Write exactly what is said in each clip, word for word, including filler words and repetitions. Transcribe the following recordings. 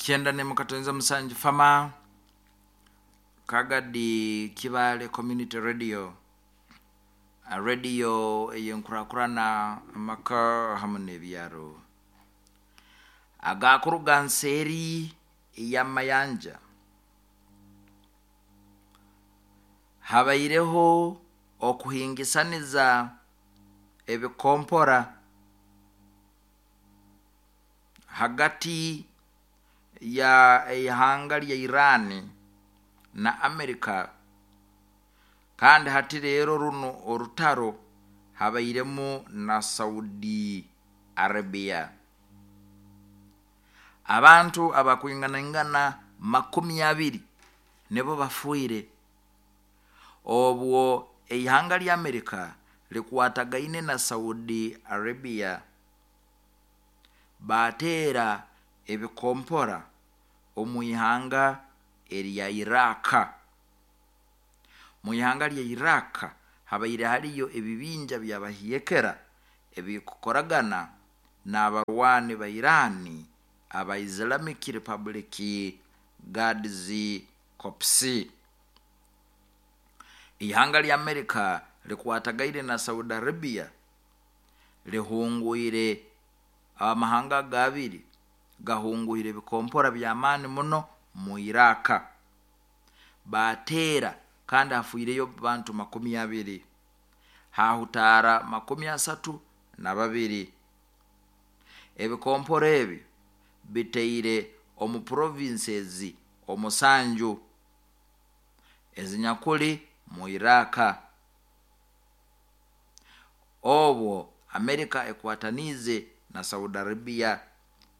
Kyenda nemukatonza musanju fama Kagadi Kibale Community Radio, radio ey'enkurakurana amaka hamu n'ebyaro agakuruga nseeri y'amayanja. Habaireho okuhingisaniza ebikompora hagati ya ihanga lya Iran na Amerika, kandi hati rero runo orutaro habairemu na Saudi Arabia. Abantu abakwinganaingana makumi abiri nibo bafiire obwo ihanga lya Amerika likwatagaine na Saudi Arabia, bateera ebikompora omu ihanga erya Iraq. Mu ihanga lya Iraq habaire hariyo ebibinja by'abahiekera ebikukoragana n'abarwani ba Iran aba Islamic Republic Guards Corps. Ihanga lya Amerika likwatagaine na Saudi Arabia lihungwire amahanga gabiri gahungwire ebikompora by'amaani muno mu Iraq, bateera kandi hafiireyo bantu makumi abiri, hahutaara makumi asatu na babiri. Ebikompora ebi biteire omu provinces omusanju ezinyakuli mu Iraq. Obwo Amerika ekwataniize na Saudi Arabia,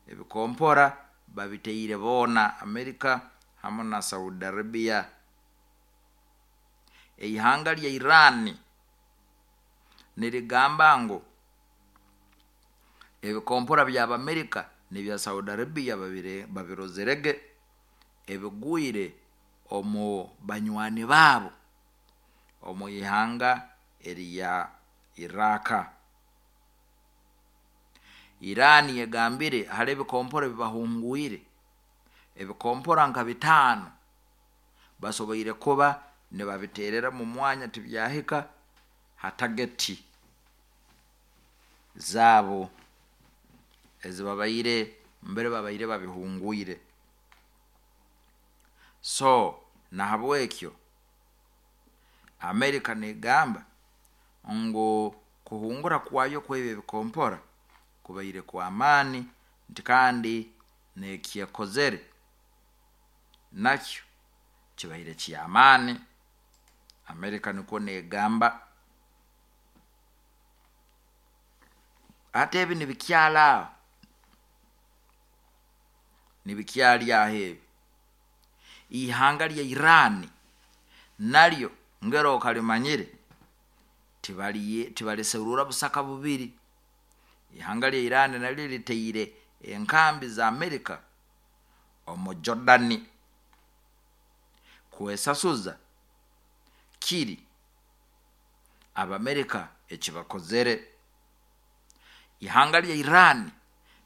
ebikompora babiteire boona Amerika hamu na Saudi Arabia. Ihanga lya Iran nirigamba ngu ebikompora by'Abamerika n'ebya Saudi Arabia babirozerege ebigwire omu banywani baabo omu ihanga erya Iraq. Iran egambire hali ebikompora ebibahungwire, ebikompora nka bitaano basoboire kuba nibabiterera mu mwanya tibyahika ha tageti zaabo ezibabaire mbere babaire babihungwire. So nahabwekyo Amerika negamba ngu kuhungura kwayo kwebi ebikompora kubaire kw'amaani, nti kandi n'ekyekozere nakyo kibaire ky'amaani. Amerika nikwo negamba. Hati ebi nibikyara aho, nibikyari aho ebi. Ihanga lya Iran naryo ngero okalimanyire tibaliserura busaka bubiri. Ihanga lya Iran naryo liteire enkambi za Amerika omu Jordan kwesasuza kiri Abamerika ekibakozere. Ihanga lya Iran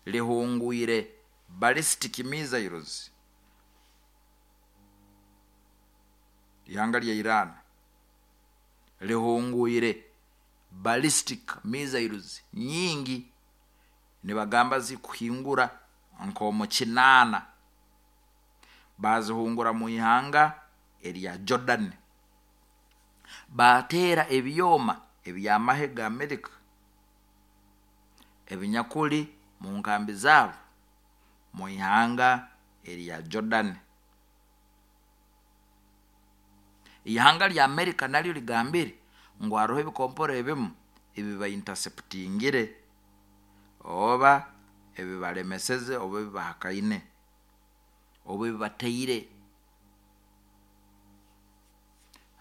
lihungwire ballistic missiles. Ihanga lya Iran lihungwire ballistic missiles nyingi, nibagamba zikuhingura nk'omu kinaana, bazihungura mu ihanga erya Jordan. Bateera ebyoma eby'amahe ga Amerika ebinyakuli mu nkambi zaabo mu ihanga erya Jordan. Ihanga lya Amerika naryo ligambire ngu haroho ebikompora ebimu ebibainterceptingire oba ebibalemeseze oba ebibahakaine oba ebibateire.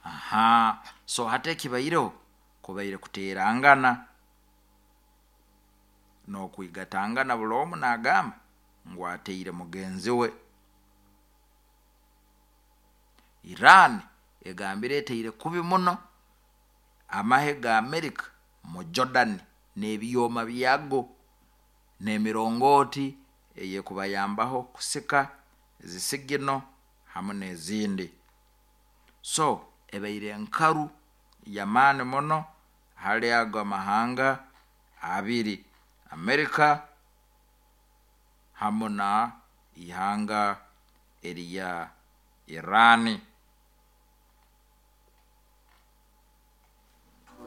Aha, so hati ekibaireho kubaire kuteerangana n'okwigatangana, buli omu naagamba ngu ateire mugenzi we. Iran egambire eteire kubi muno amahe ga Amerika mu Jordan n'ebyoma byago n'emirongooti eyekubayambaho kusika Zisigino hamu n'ezindi. So ebaire nkaru y'amaani muno hali ago amahanga abiri, Amerika hamu na ihanga erya Irani. Of,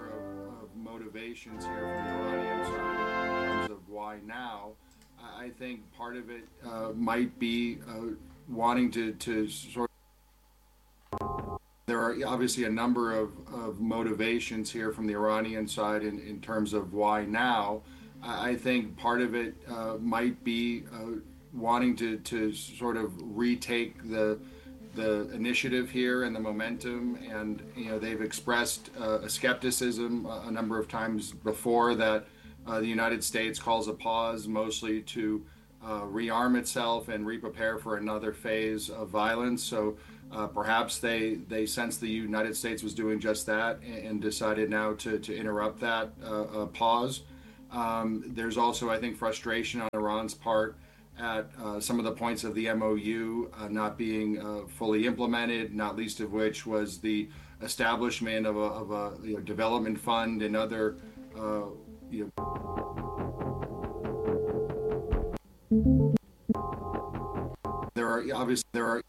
of motivations here from the Iranian side in terms of why now. I I think part of it uh, might be uh, wanting to, to sort there are obviously a number of, of motivations here from the Iranian side in, in terms of why now. I I think part of it uh, might be uh, wanting to, to sort of retake the the initiative here and the momentum. And you know, they've expressed uh, a skepticism a, a number of times before that uh, the United States calls a pause mostly to uh, rearm itself and re-prepare for another phase of violence. So uh, perhaps they they sensed the United States was doing just that and, and decided now to to interrupt that uh, uh, pause. Um, there's also, I think, frustration on Iran's part at uh, some of the points of the M O U uh, not being uh, fully implemented, not least of which was the establishment of a, of a you know, development fund and other uh, you know, there are obviously there are